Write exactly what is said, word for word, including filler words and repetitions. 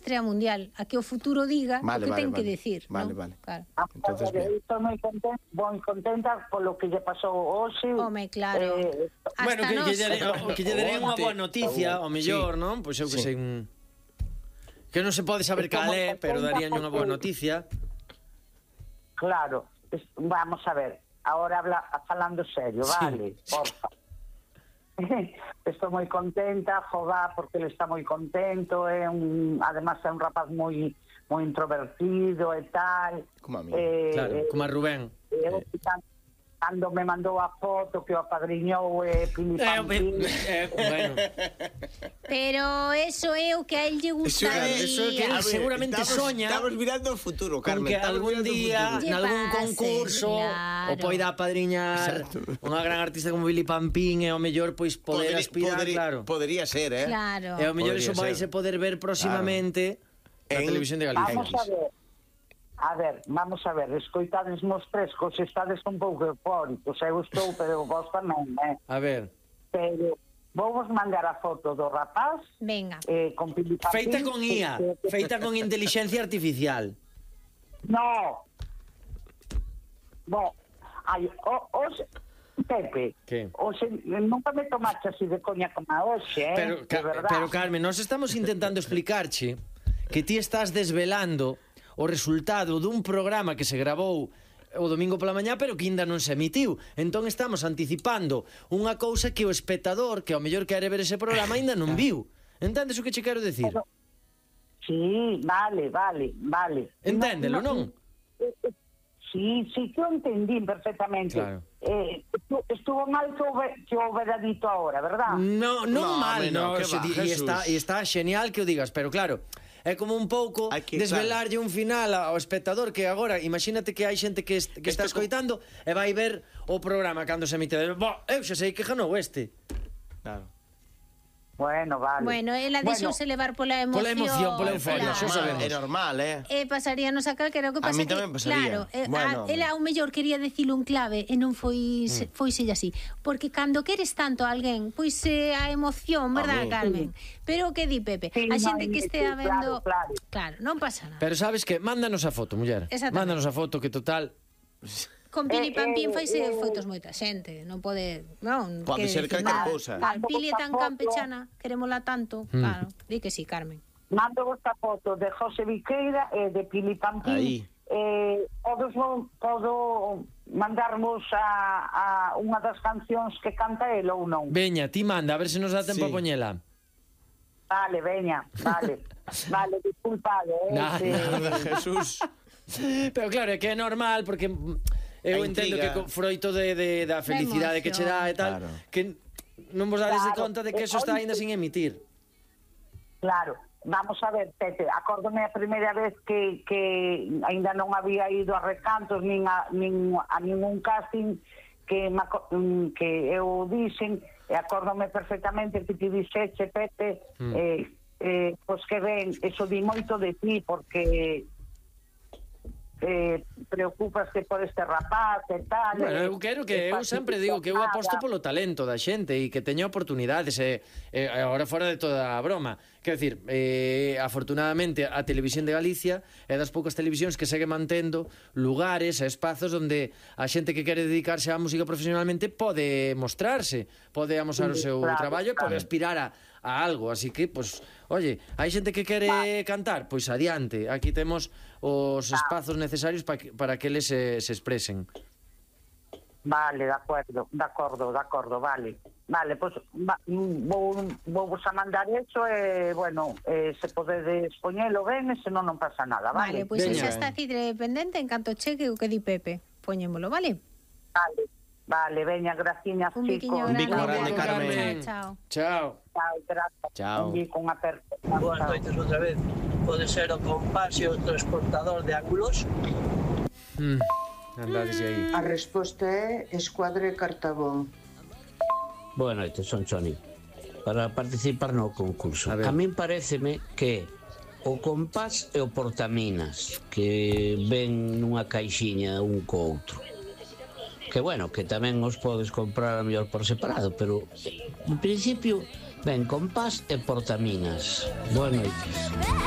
estrea mundial, a que o futuro diga Vale, o que vale, ten vale. que decir, Vale, non? vale. Claro. Entonces, bien. Estou moi contenta, moi contenta polo que lle pasou hoxe. Home, claro. Eh, Hasta Bueno, que, que, nós. lle, o, que lle daré unha boa noticia, ao mellor, non? Pois eu que Sí. sei un... Que non se pode saber cal é, pero darían unha boa noticia. Claro, es- vamos a ver, ahora habla, falando serio, Sí. vale, porfa. Estou moi contenta, joga, porque ele está moi contento, é un, además é un rapaz moi moi introvertido e tal. Como a mí. Eh, Claro, eh, como a Rubén. eu, cando me mandou a foto que o apadriñou e Pili Eh, Pampín, eh, bueno, Pero eso é o que a él lle gustaría. eso é que él A ver, seguramente estamos, soña Estamos mirando o futuro, con Carmen. que estamos algún mirando o día, futuro. Lle nalgún pase, concurso, claro. o poida apadriñar Exacto. unha gran artista como Billy Pampín e ao mellor pois poder Poderi- aspirar, poderi- claro. Podría ser, eh? Claro. E ao mellor Podría iso vai se ser. poder ver próximamente na En- televisión de Galicia. vamos a ver. A ver, vamos a ver, escoitades mos tres, cos estades un pouco eufóricos, eu estou, pero vos tamén, eh? A ver, Pero vou vos mandar a foto do rapaz Venga. eh, con Pili Pampín, feita con I A, que- que- feita con inteligencia artificial. No. Bo, ai, o, os Pepe, Que? Oxe, nunca me tomaste así de coña como a hoxe, eh? Pero, de Ca- verdad. pero Carmen, nós estamos intentando explicarche que ti estás desvelando o resultado dun programa que se gravou o domingo pola mañá, pero que ainda non se emitiu. Entón estamos anticipando unha cousa que o espectador, que ao mellor quere ver ese programa, ainda non viu. Entendes o que che quero decir? Pero- Sí, vale, vale, vale. Enténdelo, non? eh, eh, Sí, sí, que o entendín perfectamente. Claro. Eh, estu- estuvo mal que o, ve- que o hubiera dito ahora, ¿verdad? No, non No, mal, home, no, no, que se va, di- e Jesús. está, e está genial que o digas, pero claro, é como un pouco Hai que- desvelarlle un final ao espectador que agora, imagínate que hai xente que, est que está Esto co- escoitando e vai ver o programa cando se emite. Bo, eu xa sei que ganou este. Claro. Bueno, vale. Bueno, ela deixouse levar pola emoción. Pola emoción, pola euforia, claro. xa sabemos. É normal, eh? E pasaríanos a calquera, o que A pasa mí que, tamén pasaría. claro, eh, Bueno, a, ela ao mellor quería dicilo un clave e non foi mm. foiselle así, porque cando queres tanto a alguén, pois eh, a emoción, verdad, mí. Carmen? Pero o que di Pepe, Sí, a no, xente que sí, estea claro, vendo, claro. claro, non pasa nada. Pero sabes que mándanos a foto, muller. Exactamente. Mándanos a foto que total Con Pili Eh, Pampín eh, faise eh, foitos moita xente, non pode, non, Pode quere ser dicir calquer nada. cousa. Claro, Pili é tan Foto. campechana, querémola tanto, Mm. claro, di que sí, Carmen. Mando esta foto de José Viqueira e de Pili Pampín. Aí. Eh, podo, podo mandarmos a, a unha das cancións que canta el ou non? veña, ti manda, a ver se nos dá tempo Sí. a poñela. Vale, veña, vale. Vale, disculpade, eh? Nada, que- nada. Jesús. Pero claro, é que é normal porque eu A entendo intriga. que co- froito de, de, da felicidade que che dá e tal, Claro. que non vos dades de Claro. conta de que eso está aínda sin emitir. Claro, vamos a ver, Pepe, acórdome a primeira vez que, que ainda non había ido a recantos nin a, nin a ningún casting que, me, aco- mm, que eu dixen, e acórdome perfectamente que ti dixeche, Pepe, Mm. eh, eh, pois que ben, eso di moito de ti, porque eh, preocupaste por este rapaz e tal. Bueno, e- eu quero que e eu sempre digo que eu nada. aposto polo talento da xente e que teña oportunidades e, e agora fora de toda a broma. Quero dicir, eh, afortunadamente a Televisión de Galicia é das poucas televisións que segue mantendo lugares e espazos onde a xente que quere dedicarse á música profesionalmente pode mostrarse, pode amosar o seu Claro, traballo e pode claro. aspirar a, a algo, así que, pues, oye, hai xente que quere cantar, pois adiante, aquí temos os espazos necesarios para que, para que eles se, se expresen. Vale, de acuerdo, de acordo, de acordo, vale. Vale, pois va, vou, vou vos a mandar eso e, bueno, eh, se podedes poñelo ben e senón non pasa nada, Vale, vale? pois Veña. xa está cidre pendente en canto cheque o que di Pepe. Poñémolo, vale? Vale, vale, veña, graciñas, Un biquiño chicos. Un bico grande. grande, Carmen. Chao, chao. Chao. Chao, gracias. Chao. Un bico, unha aperta. Boas noites outra vez. Pode ser o compás e o transportador de ángulos. Mm. Andades aí. A resposta é Escuadre Cartabón. Boas noites, son Choni. Para participar no concurso. A ver. A, min pareceme que o compás e o portaminas que ven nunha caixiña un co outro. Que bueno, que tamén os podes comprar a mellor por separado, pero en principio ven compás e portaminas. Boas noites.